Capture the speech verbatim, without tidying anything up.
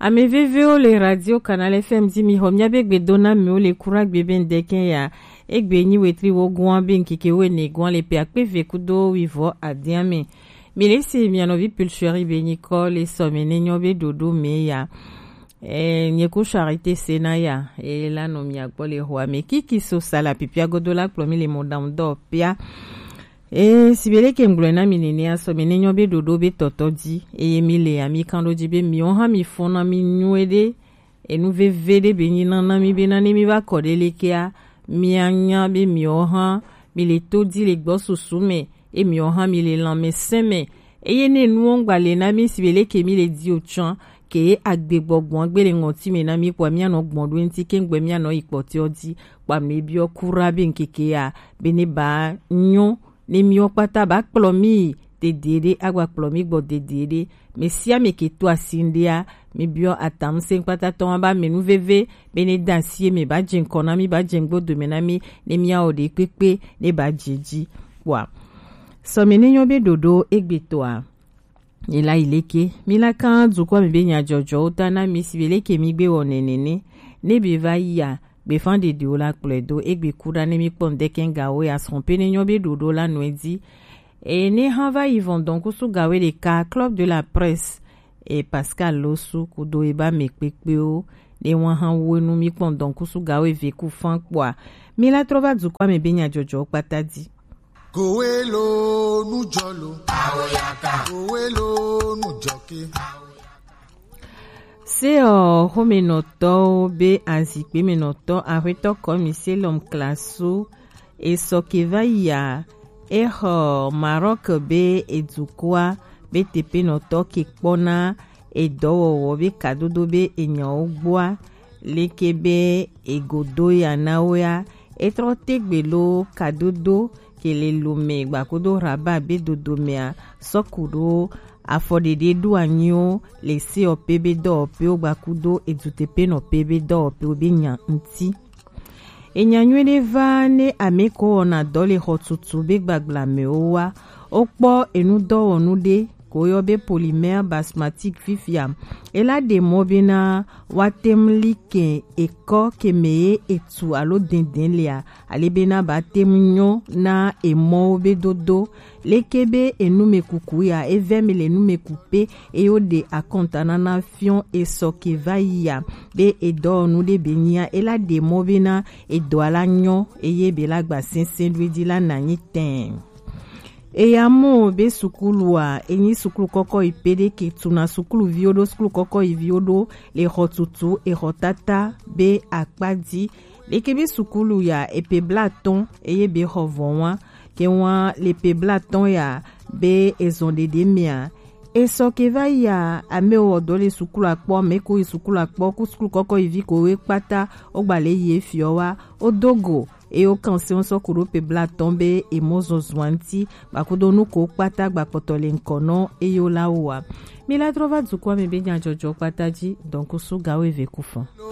Ame vevewo le Radio Canal F M dzi, mi xɔ mía be gbedo na mi wo le kura gbe be ŋdɛkɛ ya. Egbe nyi wetri wo goa be ŋkeke wo ne goa le pe akpe ve kudo wi vɔ adia me. Mi le se mia nɔvi Pulcheri be nyi kɔ le sɔme ne nyɔ be ɖoɖo me ya. E, nye ku Charité Sena ya, e la nɔ mia gbɔ le xɔa me. Kiki so sala pipia godo la kplɔ mi le mɔ dam dɔ pia. E, si be leke ŋgblɔe na mi nene asɔ mi ne nyɔ be ɖoɖo be tɔtɔ dzi, eye mi le ami kan ɖo dzi be miwo hã mi fɔna mi nyuie ɖe, enu veve ɖe be nyi nana mi be na ne mi va kɔ ɖe lekea, mia nya be miwo hã mi le to dzi le gbɔ susu me, e miwo hã mi le lãmesẽ me, eye ne nuwo ŋgba le na mi si be leke mi le di o tsã, ke agbe gbɔgbɔa gbe le ŋɔti me na mi kpɔa mia nɔ gbɔn ɖo ŋti ke ŋgbe mia nɔ yi kpɔtɔ dzi, kpɔa mi biɔ kura be ŋkeke ya, be ne ba nyɔ ne miwo kpata ba kplɔ mi yi dede ɖe, agba kplɔ mi gbɔ dede ɖe. Me sia me ke to asi ŋɖea, mi biɔ atam se kpata tɔ ba me nu veve, be ne da asi me ba dze ŋkɔ na mi, ba dze ŋgbo dome na mi, ne mia o ɖe kpekpe, ne ba dze dzi. Kpɔa. Sɔ me ne nyɔ be ɖoɖo egbe tɔa. Ela yi leke, mi la kan dukɔ me be nyadzɔdzɔwo ta na mi si be leke mi gbe wɔ nene ne, ne be va yi a, be fan ɖeɖewo la kplɔe do, egbe ku ɖa ne mi kpɔ ŋdɛkɛ gawo ya srɔ̃ pe ne nyɔ be ɖoɖo la nɔe dzi. E ne hã va yi vɔn dɔnkusu gawo ɖeka, Club de la Presse, e Pascal Losu kudo e ba me kpekpewo, ne wa hã wo nu mi kpɔ dɔnkusu gawo eve ku fan kpɔa. Mi la trɔ va dukɔ me be nyadzɔdzɔwo kpata dzi. Kowelo nujɔlo. Awoyaka. Kowelo nujɔke. Se ɔ, xomenɔtɔwo be azikpemenɔtɔ, axwetɔ kɔmi se lɔm klasu, esɔ ke va yia, exɔ Maroc be edukɔa, be tepenɔtɔ ke kpɔna edɔwɔwɔ be kadodo be enyawo gbɔa, leke be egodo ya na wo ya, etrɔ tegbe lo kadodo ke le lome gbakudo Rabat be dodo mea, sɔku ɖo afɔɖeɖe ɖo anyiwo le seɔpe be dɔwɔpewo gbakudo edutepenɔpe be dɔwɔpewo be nya ŋti. Enya nyuie ɖe va ne ame ko wɔna dɔ le xɔtutu be gbagbla me wo wa, wokpɔ enudɔwɔnu ɖe ko yɔ be polymère basmatique fifia. Ela ɖe mɔ bena woate ŋu li ke ekɔ ke me ye etu alo dɛndɛn lea, ale bena ba te ŋu nyɔ na emɔwo be dodo. Leke be enumekuku ya, evɛ mi le numeku pe, eye woɖe akɔntanana fiɔ esɔ ke va yi ya, be edɔwɔnu ɖe be nyia, ela ɖe mɔ bena edɔa la nyɔ, eye be la gba sɛnsɛn ɖo edzi la na nyi tɛn. Eya mɔ be sukulua, enyi sukulu kɔkɔ yi pe ɖe ke tuna sukuluviwo ɖo, sukulu kɔkɔ yi viwo ɖo le xɔtutu, exɔ tata be akpa dzi. Leke be sukulu ya epe blatɔn, eye be xɔ vɔ wa, ke wa le pe blatɔn ya be ezɔn ɖeɖe mea. Esɔ ke va yi a, ame wɔ dɔ le sukulu akpɔ, ame ko yi sukulu akpɔ, ku sukulu kɔkɔ yi vi ko we kpata, o gba le yi efiɔ wa, o dogo, eye wo kan se ŋu sɔ ku ɖo pe blatɔn be emɔ zɔzɔa ŋti, gbakudo nu ko kpata gba kpɔtɔ le ŋkɔ nɔ eye wo la wo wa. Mi la trɔ va dukɔa me be nyadzɔdzɔ kpata dzi, dɔnkusu gawo eve ku fɔn.